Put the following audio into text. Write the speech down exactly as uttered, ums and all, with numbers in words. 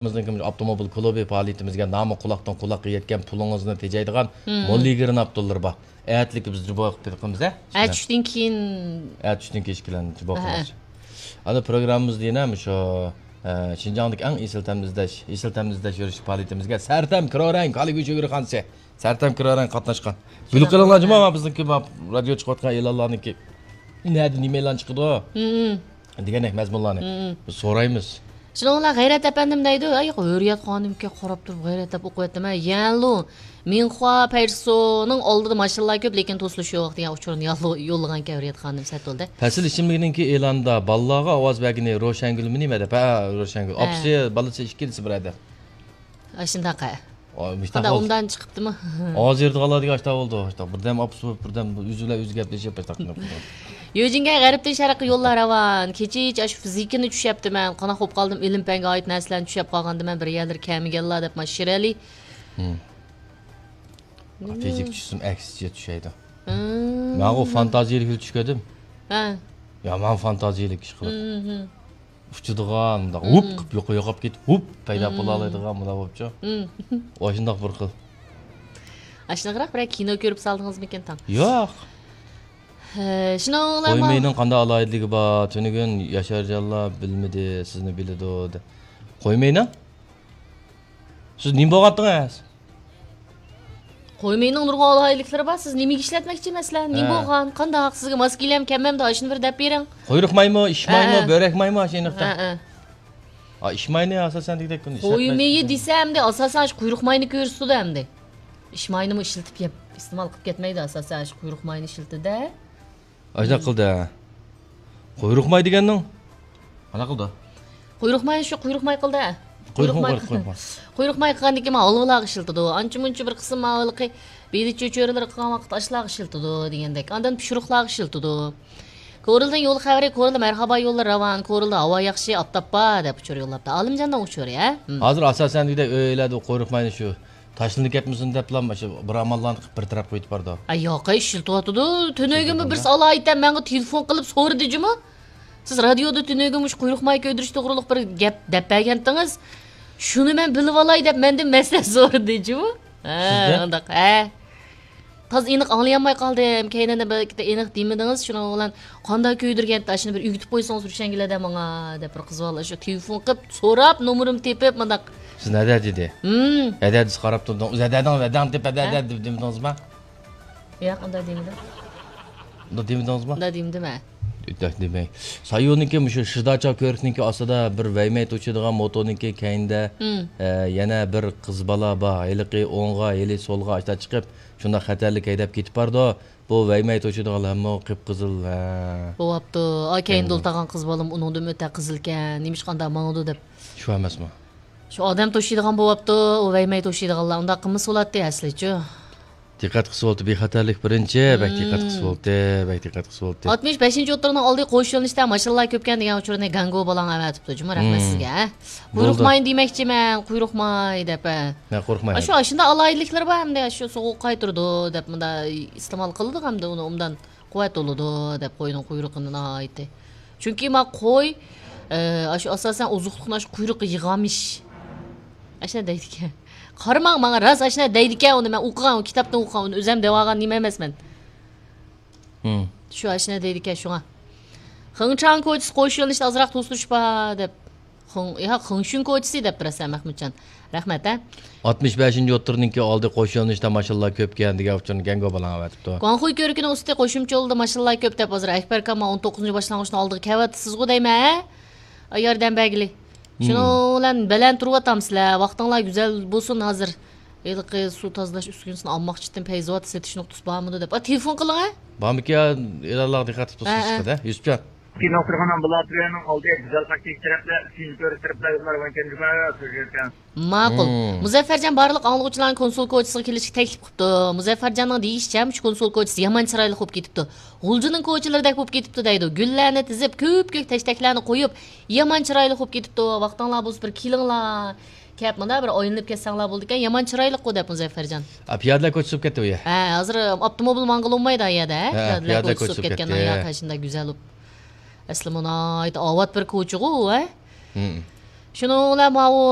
بىزنىڭكى ئاپتوموبىل كۇلۇبى پائالىيىتىمىزگە نامى قۇلاقتىن قۇلاققا يەتكەن، پۇلىڭىزنى تېجەيدىغان موللىگىرناپتوللىرى بار. ئەتىلىكى بىز جۇبو قىلىپ بېقىمىز، ھە؟ ئەتە چۈشتىن كېيىن. ئەتە چۈشتىن كېيىن ئىككىلەن جۇبو قىلىمىز. ئەنە پروگراممىمىزدا يەنە مۇشۇ، ئە، شىنجاڭدىكى ئەڭ ئېسىل تەمنى ئىزدەش، ئېسىل تەمنى ئىزدەش يۈرۈش پائالىيىتىمىزگە سەرتەم كىرورەڭ كالا گۆشى گۆرخانىسى، سەرتەم كىرورەڭ قاتناشقان. بىلىپ قېلىڭلار جۇما، بىزنىڭكى رادىيو چىقىۋاتقان ئېلانلارنىڭكى نەدە نېمە ئېلان چىقىدۇ؟ دېگەندەك مەزمۇنلارنى بىز سورايمىز. شۇنىڭ بىلەن غەيرەت ئەپەندىم دەيدۇ، ئەي، ھۆرىيەت خانىمكە قاراپ تۇرۇپ غەيرەت دەپ ئوقۇۋەتتىم، ھە، يەنلۇ مىنخۇا پەيسونىڭ ئالدىدا ماشىنىلار كۆپ، لېكىن توسۇلۇش يوق دېگەن ئۇچۇرنى يوللىغانكەن ھۆرىيەت خانىم سەتولدە. پەسىل ئىشىملىكنىڭكى ئېلانىدا بالىلارغا ئاۋاز بەرگىنى روشەنگۈلمۇ نېمە دەپ، ھە، روشەنگۈل. ھە. ئاپىسى، بالىسى ئىككىلىسى بىر ئەدە. ئاشۇنداق، ھە. ئۇمدان چىقىپتىمۇ؟ ھازىر يېرىدىغانلاردىكى ئاشتا بولدى، ئاشتا. بىردەم ئاپىسى بولۇپ، بىردەم ئۆزى بىلەن ئۆزى گەپلىشىپ، ئاشتا قىلىپ. يۆجىنگە غەربتىن شەرققە يوللار راۋان. كېچىچە ئاشۇ فىزىكىنى چۈشەپتىمەن. قانداق بولۇپ قالدىم، ئىلىم پەنگە ئائىت نەرسىلەرنى چۈشەپ قالغاندىمەن، بىر يەرلىرى كەلمىگەنلا دەپ، مانا شىرئەلى. فىزىك چۈشسىم ئەكسىچە چۈشەيدۇ. مەنغۇ فانتازىيىلىك چۈشكەدىم. ھە. يامان فانتازىيىلىك ئىش قىلىپ. ئۇچىدىغان، مۇنداق ھۇپ قىلىپ يوق-، يوقاپ كېتىپ، ھۇپ پەيدا بولالايدىغان مۇنداق بولۇپچۇ. ئاشۇنداق بىر خىل. ئاشۇنداقراق بىرەر كىنو كۆرۈپ سالدىڭىزمىكىن تاڭ؟ ياق. ھە، شۇنىڭ بىلەن قويمەينىڭ قانداق ئالاھىدىلىكى بار؟ تۈنۈگۈن ياشارجانلار بىلمىدى، سىزنى بىلىدۇ، دە-، قويماينىڭ؟ سىز نېمە بولغانتىڭىز؟ قويماينىڭ نۇرغۇن ئالاھىدىلىكلىرى بار. سىز نېمىگە ئىشلەتمەكچى مەسىلەن؟ نېمە ھە. بولغان؟ قانداق؟ سىزگە ماس كېلەم، كەلمەمدۇ؟ ئاشۇنى بىر دەپ بېرىڭ. قۇيرۇق مايمۇ، ئىش مايمۇ، ھە، ھە. بۆرەك مايمۇ، ئاشۇ ئېنىقتا. ھە، ھە. ئا، ئىش ماينى ئاساسەن دېگۈدەك كۈندە ئىشلەتمەيسىز. قويمىيى دېسە ئەمدى ئاساسەن شۇ قۇيرۇق ماينى كۆرسىتىدۇ ئەمدى. ئىش ماينىمۇ ئىشلىتىپ يەپ، ئىستېمال قىلىپ كەتمەيدۇ ئاساسەن شۇ قۇيرۇق ماينى ئىشلىتىدۇ. ئاشۇنداق قىلدى. قۇيرۇق ماي دېگەننىڭ؟ قانداق قىلدى؟ قۇيرۇق ماي شۇ قۇيرۇق ماي قىلدى. قۇيرۇق ماي، قۇيرۇق ماي. قۇيرۇق ماي قىلغاندىن كېيىن ھالۋىلارغا ئىشلىتىدۇ. ئانچە مۇنچە بىر قىسىم ھالۋىلىقى بېلىچە چۆرىلىرى قىلغان ۋاقىت ئاشلارغا ئىشلىتىدۇ دېگەندەك. ئاندىن پىشۇرۇقلارغا ئىشلىتىدۇ. كورلىدىن يول خەۋىرى، كورلىدا مەرھابا يوللار راۋان، كورلىدا ھاۋا ياخشى، ئاپتاپ بار دەپ ئۇچۇر يوللاپتۇ. ئالىمجاننىڭ ئۇچۇرى، ھە؟ ھازىر ئاساسەن دېگۈدەك ئۆيلەردە قۇيرۇق ماينى شۇ تاشلىنىپ كەتمىسۇن دەپلا مۇشۇ بىر ئاماللارنى قىلىپ بىر تەرەپ قويۇپ بارىدۇ. ئاي ياق، ئىشلىتىۋاتىدۇ. تۈنۈگۈنمۇ بىرسى ئالايىتەن ماڭا تېلېفون قىلىپ سورىدى جۇمۇ. سىز رادىيودا تۈنۈگۈن مۇشۇ قۇيرۇق ماي كۆيدۈرۈش توغرۇلۇق بىر گەپ دەپ بەرگەنتىڭىز. شۇنى مەن بىلىۋالاي دەپ مەندىن مەسلىھەت سورىدى جۇمۇ. ھە، سىزدىن؟ ئۇنداق، ھە. تازا ئېنىق ئاڭلىيالماي قالدىم. كەينىدىن بىر ئېنىق دېمىدىڭىز، شۇنىڭ بىلەن قانداق كۆيدۈرگەنتى، ئاشۇنى بىر ئۆگىتىپ قويسىڭىز روشەنگۈلەدە ماڭا، دەپ بىر قىز بالا شۇ تېلېفون قىلىپ سوراپ، نومۇرۇمنى تېپىپ مۇنداق. سىز نەدە دېدى؟ ھىم. نەدە دېسە قاراپ تۇردۇڭ؟ ئۆزى ھەدەڭ ھەدەڭ دەپ ھەدە ھە؟ دەپ دېمىدىڭىزما؟ ياق، ئۇنداق دېمىدىم. ئۇنداق دېمىدىڭىزما؟ ئۇنداق دېمىدىم ھە. ئۇنداق دېمەي. سايونىڭكى مۇشۇ شىداچا كۆۋرۈكنىڭكى ئاستىدا بىر ۋەيمەي توشۇيدىغان موتورنىڭكى كەينىدە، ھىم. ئە، يەنە بىر قىز بالا بار. ھېلىقى ئوڭغا، ھېلى سولغا ئاشتا چىقىپ، شۇنداق خەتەرلىك ھەيدەپ كېتىپ بارىدۇ. بۇ ۋەيمەي توشۇيدىغانلارمۇ قىپقىزىل، ھە. بوۋاپتۇ. ئا، كەينىدە ئولتۇرغان قىز بالىمۇ ئۇنىڭدىنمۇ ئۆتە قىزىلكەن. نېمىشقا ئانداق ماڭىدۇ دەپ. شۇ ئەمەسمۇ؟ شۇ ئادەم توشۇيدىغان بوۋاپتۇ، ئۇ ۋەيمەي توشۇيدىغانلار ئۇنداق قىلمىسا بولاتتى ئەسلىچۇ. دىققەت قىلسا بولاتتى، بىخەتەرلىك بىرىنچى، بەك دىققەت قىلسا بولاتتى، بەك دىققەت قىلسا بولاتتى. ئاتمىش بەشىنچى ئوتتۇرىنىڭ ئالدى قوش يۆنىلىشتە ماشىنىلار كۆپكەن دېگەن ئۇچۇرنى گەڭگو بالاڭ ئەۋەتىپتۇ، جۇمۇ، رەھمەت سىزگە، ھە. قۇيرۇق ماينى دېمەكچىمەن، قۇيرۇق ماي دەپ، ھە. مەن قورقماي. ئاشۇ، ئاشۇنداق ئالاھىدىلىكلىرى بار ھەمدە، ئاشۇ سوغۇق قايتۇرىدۇ دەپ، مۇنداق ئىستېمال قىلىدۇ ھەمدە ئۇنى ئوبدان قۇۋۋەت بولىدۇ دەپ قوينىڭ قۇيرۇقىنى ناھايىتى. چۈنكى ما قوي، ئە، ئاشۇ ئاساسەن ئوزۇقلۇقنى ئاشۇ قۇيرۇققا يىغامىش. ئاشۇنداق دەيدىكەن. قارىماڭ ماڭا، راست ئاشۇنداق دەيدىكەن، ئۇنى مەن ئوقۇغان، ئۇ كىتابتىن ئوقۇغان، ئۇنى ئۆزۈم دەۋالغان نېمە ئەمەسمەن. ھىم. شۇ ئاشۇنداق دەيدىكەن شۇڭا. خېڭچاڭ كوچىسى قوش يۆنىلىشتە ئازراق توسۇلۇش بار دەپ. خېڭ-، يا، خېڭشۈن كوچىسى دەپ بېرىسەن مەخمۇتجان. رەھمەت، ھە. ئاتمىش بەشىنچى يوتتۇرنىڭكى ئالدى قوش يۆنىلىشتە ماشىنىلار كۆپكەن دېگەن ئۇچۇرنى گەڭگو بالاڭ ئەۋەتىپتۇ. گۇاڭخۇي كۆۋرۈكىنىڭ ئۈستى قوشۇمچە يولىدا ماشىنىلار كۆپ دەپ ھازىر ئەكبەر ئاكام ئون توققۇزىنچى باشلانغۇچنىڭ ئالدىغا كەۋاتىسىزغۇ دەيمەن، ھە؟ ئاي ياردەم بەرگىلى. شۇنىڭ بىلەن بەلەن تۇرۇۋاتامسىلەر. ۋاقتىڭلار گۈزەل بولسۇن ھازىر. ھېلىقى سۇ تازىلاش ئۈسكۈنىسىنى ئالماقچىتىم، پەيزىۋات سېتىش نۇقتىسى بارمىدۇ دەپ. ئا، تېلېفون قىلىڭ، ھە؟ بارمىكى، ئېلانلارغا دىققەت قىلىپ تۇرسىڭىز، ھە، ھە. چىقىدۇ، ھە، يۈسۈپجان. كىنو قىرغىنىڭ بۇلاترىيەنىڭ ئالدى گۈزەل خەكلىك تەرەپلەر، ئۈچىنچى كۆۋرۈك تەرەپلەر يوللار ۋەنكەن جۇمە سۆزلەيدىكەن. ماقۇل. مۇزەففەرجان بارلىق ئاڭلىغۇچىلارنى كونسۇل كوچىسىغا كېلىشكە تەكلىپ قىپتۇ. مۇزەففەرجاننىڭ دېيىشىچە، مۇشۇ كونسۇل كوچىسى يامان چىرايلىق بولۇپ كېتىپتۇ. غۇلجىنىڭ كوچىلىرىدەك بولۇپ كېتىپتۇ دەيدۇ. گۈللەرنى تىزىپ، كۆپ كۆك تەشتەكلەرنى قويۇپ، يامان چىرايلىق بولۇپ كېتىپتۇ. ۋاقتىڭلار بولسا بىر كېلىڭلار. كەپ مۇنداق بىر ئايلىنىپ كەتسەڭلار بولىدىكەن. يامان چىرايلىققۇ دەپ مۇزەففەرجان. ئا، پىيادىلەر كوچىسى بولۇپ كەتتى ئۇ يەر. ھە، ھازىر ئاپتوموبىل ماڭغىلى بولمايدۇ ئۇ يەردە، ھە؟ ھە، پىيادىلەر كوچىسى بولۇپ كەتكەن. يا، قاچىندا گۈزەل بولۇپ. ئەسلى مۇنايىتى ئاۋات بىر كوچىغۇ، ھە؟ شۇنىڭ بىلەن ماۋۇ